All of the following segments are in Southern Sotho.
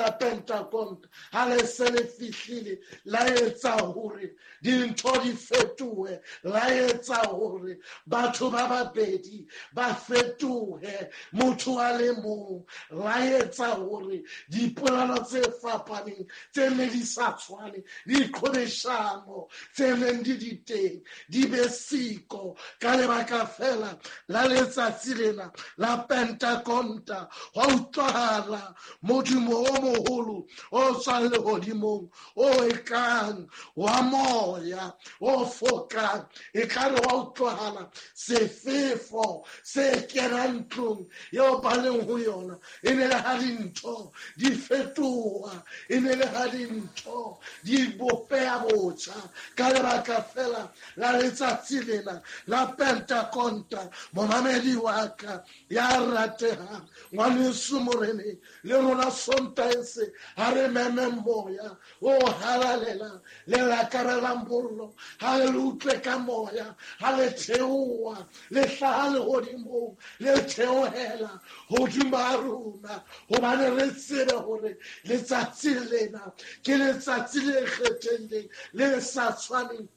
la Pentakonta ha le se le fihlile, la etsa hore dintho di fetohe, la etsa hore batho ba babedi ba fetohe motho a le mong, la etsa hore dipolelo tse fapaneng tse ne di sa tshwane, diqhobeshano tse neng di di teng di be siko ka lebaka fela la letsatsi lena la Pentakonta. Hwa utlwahala modumo o moholo o tswang lehodimong, o ekang wa moya o fokang, ekare wa utlwahala sefefo se kenang ntlong eo ba leng ho yona. E ne le ha dintho di fetoha, e ne le ha dintho di bopeha botjha ka lebaka fela la letsatsi lena la Pentakonta. Momamedi wa ka ya ratehang, ngwaneso moreneng, le rona Sontaha se ha re meme moya o halalelang le lakarelang mollo, ha re le utlwe ka moya ha le theoha le hlaha lehodimong le theohela hodima rona, hobane re tsebe hore letsatsi lena ke letsatsi le kgethehileng le sa tshwaneng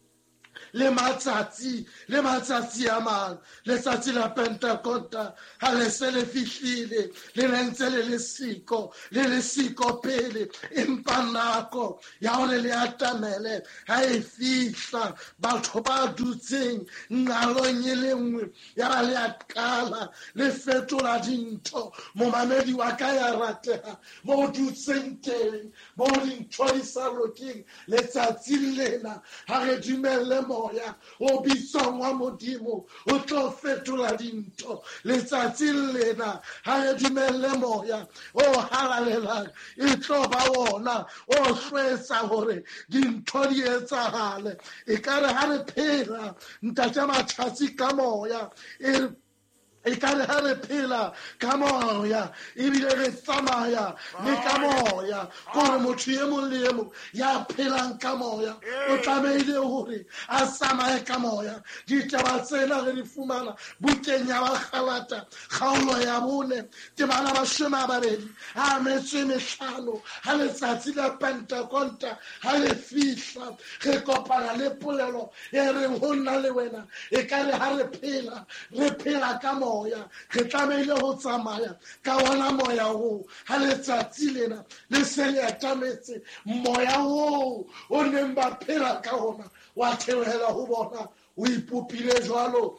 le matsatsi a mang. Letsatsi la Pentakonta ha le se le fihlile, le ne ntse le le siko, le le siko pele, empa nako ya hore le atamele ha e fihla, batho ba dutseng nqalong e le nngwe ya ba le a qala le fetola dintho. Momamedi wa ka ya rateha, mo dutseng teng, mo dintho di sa lokeng, letsatsi lena ha re dumelle moya o bitswang wa Modimo o tlo fetola dintho. Letsatsi lena ha re dumelle moya o halalelang e tlo ba wona o hlwetsa hore dintho di etsahale. Ekare ha re phela ntate Matjhatsi ka moya, ekare ha re phela ka moya ebile re tsamaya le ka moya, kore motho e mong le e mong ya phelang ka moya o tlamehile hore a tsamaye ka moya. Ditaba tsena re di fumana bukeng ya Bagalata kgaolo ya 4 temana 25. Ha letsatsi la Pentakonta ha le fihla, re kopana le polelo e reng ho nna le wena, ekare ha re phela, re phela ka moya, re tlamehile ho tsamaya ka ona moya oo. Ha letsatsi lena le se le atametse, moya oo o neng ba phela ka ona wa theohela ho bona, o ipopile jwalo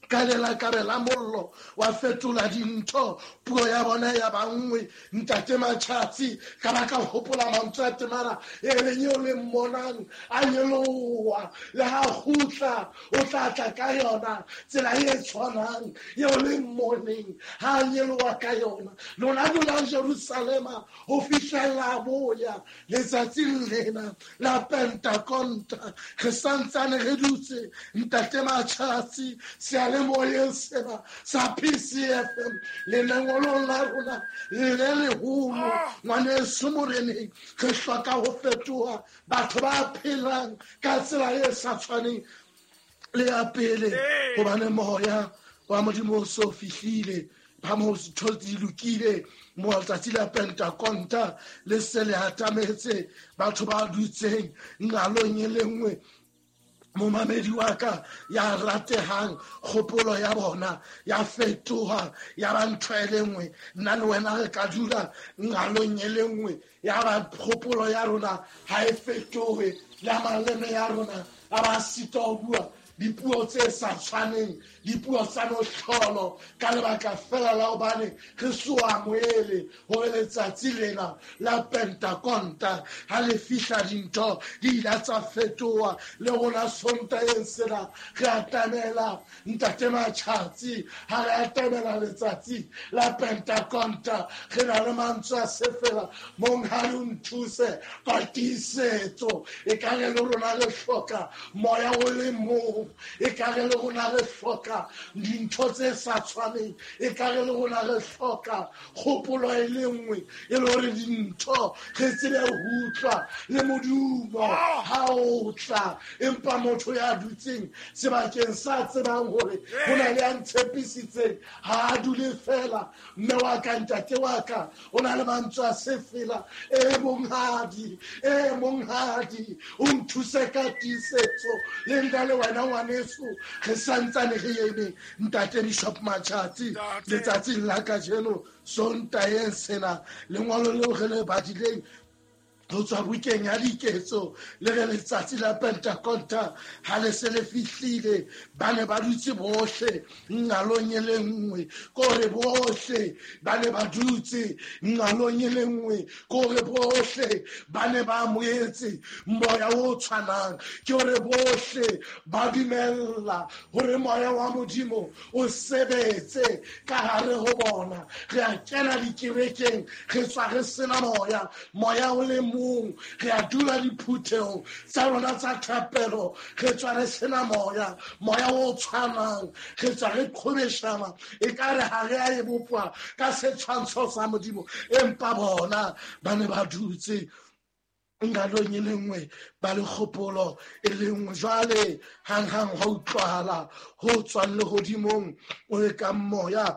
ka lelakabe la mollo, wa fetola dintho, puo ya bona ya ba nngwe. Ntate Matjhatsi, ka ba ka hopola mantswe a temana e reng eo le mmonang a nyoloha, le ha kgutla o tla tla ka yona tsela e tshwanang eo le mmoneng ha a nyoloha ka yona. Lona dulang Jerusalema ho fihlela boya. Letsatsing lena la Pentakonta re santsane re dutse ntate Matjhatsi seyalemoyeng sena sa PCFM, le lengolong la rona le leholo. Ngwaneso moreneng, re hloka ho fetoha batho ba phelang ka tsela e sa tshwaneng le ya pele, hobane moya wa Modimo o so fihlile. Ba mo ntho di lokile, mo letsatsi la Pentakonta le se le atametse, batho ba dutseng nqalong e le nngwe. Momamedi wa ka ya ratehang, kgopolo ya bona ya fetoha ya ba ntho e le nngwe. Nna le wena re ka dula nqalong e le nngwe, ya ba kgopolo ya rona ha e fetohe, le maleme ya rona a ba sitwa ho bua dipuo tse sa tshwaneng, dipuo tsa mohlolo, ka lebaka fela la hobane re so amohele hore letsatsi lena la Pentakonta ha le fihla dintho di ile tsa fetoha. Le rona Sontaheng sena re atamela ntate Matjhatsi, ha re atamela letsatsi la Pentakonta re na le mantswe a sefela, monghadi o nthuse ka tiisetso. Ekare le rona re hloka moya o le mong. mong. E ka re le rona re hloka dintho tse sa tshwaneng, e ka re le rona re hloka kgopolo e le nngwe, e le hore dintho re tsebe ho utlwa le modumo ha o tla. Empa motho ya dutseng sebakeng sa tsebang hore ho na le ya ntshepisitseng, ha a dule fela. Mme wa ka, ntate wa ka, o na le mantswe a sefela. E monghadi, e monghadi, o nthuse ka tiisetso. Le nna le wena ngwaneso re santsane re eme, ntate Bishop Matjhatsi, letsatsing la kajeno Sontaheng sena, lengolo leo re le badileng ho tswa bukeng ya Diketso le re letsatsi la Pentakonta ha le se le fihlile, ba ne ba dutse bohle nqalong e le nngwe. Kore bohle ba ne ba dutse nqalong e le nngwe, kore bohle ba ne ba amohetse moya o tshwanang, ke hore bohle ba dumella hore moya wa Modimo o sebetse ka hare ho bona. Re a kena dikerekeng, re tswa re sena moya, moya o le mong. Re a dula diphuthehong tsa rona tsa thapelo, re tswa re sena moya, moya o tshwanang. Re tswa re qhobeshana, e ka re ha re a e bopwa ka setshwantsho sa Modimo. Empa bona ba ne ba dutse nqalong e le nngwe, ba le kgopolo e le nngwe. Jwale hanghang hwa utlwahala ho tswang lehodimong o e kang moya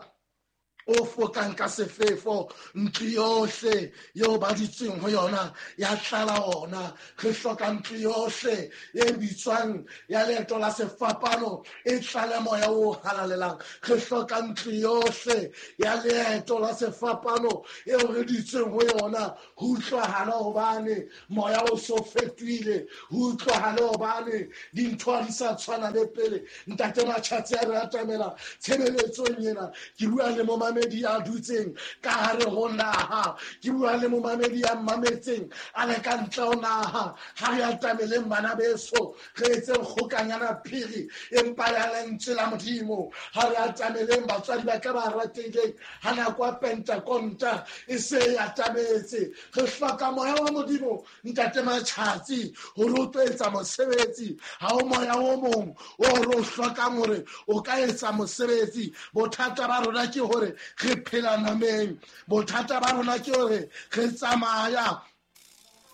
o fokang ka sefefo, ntlo yohle eo ba dutseng ho yona ya tlala ona. Re hloka ntlo yohle e bitswang ya leeto la sefapano e tlale moya o halalelang. Re hloka ntlo yohle ya leeto la sefapano eo re dutseng ho yona ho utlwahale hobane moya o so fetohile, ho utlwahale hobane dintho ha di sa tshwana le pele. Ntate Matjhatsi, a re atamela tshebeletsong ena, ke bua le momamedi ya dutseng ka hare ho naha, ke bua le momamedi ya mmametseng a le ka ntle ho naha. Ha re atameleng bana beso, re etseng kgokanyana phiri empa ya lentswe la Modimo. Ha re atameleng batswadi ba ka ba ratehileng, ha nako ya Pentakonta e se e atametse. Re hloka moya wa Modimo, ntate Matjhatsi, hore o tlo etsa mosebetsi. Ha o moya o mong o re o hlokang hore o ka etsa mosebetsi. Bothata ba rona ke hore re phela nameng, bothata ba rona ke hore re tsamaya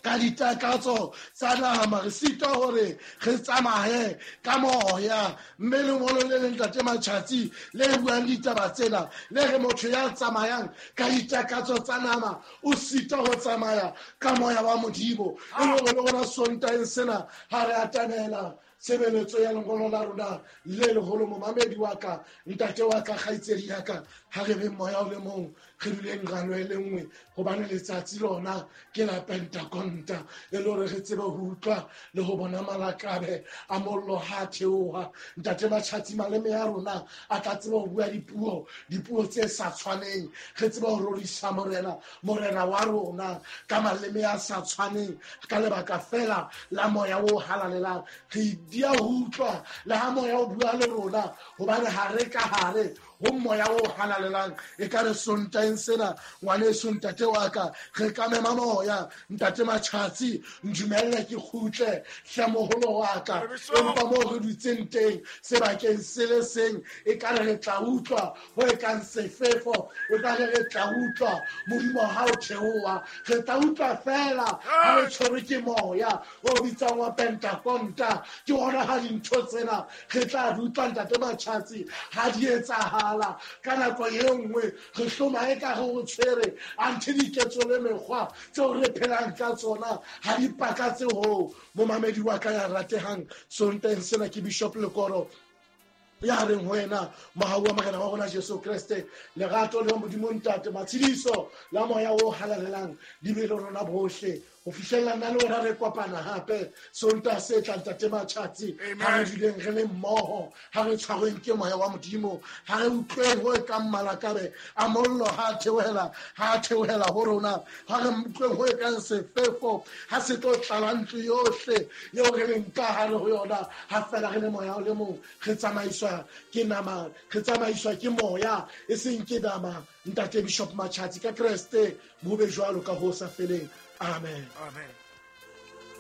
ka ditakatso tsa nama, re sitwa hore re tsamaye ka moya. Mme lengolo le leng, ntate Matjhatsi, le buang ditaba tsena, le re motho ya tsamayang ka ditakatso tsa nama o sitwa ho tsamaya ka moya wa Modimo. E le hore le rona Sontaheng sena ha re atamela tshebeletso ya lengolo la rona le leholo, momamedi wa ka, ntate wa ka, kgaitsedi ya ka, ha re beng moya o le mong, re duleng nqalo e le nngwe, hobane letsatsi lona ke la Pentakonta, e le hore re tsebe ho utlwa le ho bona malakabe a mollo ha a theoha. Ntate Matjhatsi, maleme a rona a tla tseba ho bua dipuo, dipuo tse sa tshwaneng. Re tsebe ho rorisa Morena, Morena wa rona, ka maleme a sa tshwaneng, ka lebaka fela la moya o halalelang. Re dia ho utlwa le ha moya o bua le rona, hobane ha re ka hare ho moya o halalelang. E ka re Sontaheng sena, ngwaneso, ntate wa ka, re ka mema moya. Ntate Matjhatsi, ndumelle ke kgutle hle moholo wa ka. Empa moo re dutseng teng sebakeng se le seng, e ka re re tla utlwa ho e kang sefefo, e ka re re tla utlwa modimo ha o theoha. Re tla utlwa fela ha re tshwerwe ke moya o bitswang wa Pentakonta. Ke hona ha dintho tsena re tla di utlwa, ntate Matjhatsi, ha di etsahala. Ka nako e nngwe re hloma e ka re o tshwere, anthe diketso le mekgwa tseo re phelang ka tsona ha di pakatse hoo. Momamedi wa ka ya ratehang, Sontaheng sena ke Bishop Lekoro ya reng ho wena, mohau wa Morena wa rona Jesu Kreste, lerato le Modimo Ntate, matshediso la moya o halalelang di be le rona bohle ho fihlella nna le wena re kopana hape Sontaha se tlang. Ntate Matjhatsi, ha re duleng re le mmoho, ha re tshwarweng ke moya wa Modimo, ha re utlweng ho e kang malakabe a mollo ha a theohela, ha a theohela ho rona, ha re utlweng ho e kang sefefo ha se tlo tlala ntlo yohle eo re leng ka hare ho yona. Ha fela re le moya o le mong, re tsamaiswa ke nama, re tsamaiswa ke moya, e seng ke nama. Ntate Bishop Matjhatsi, ka Kreste bo be jwalo ka ho sa feleng. Amen. Amen.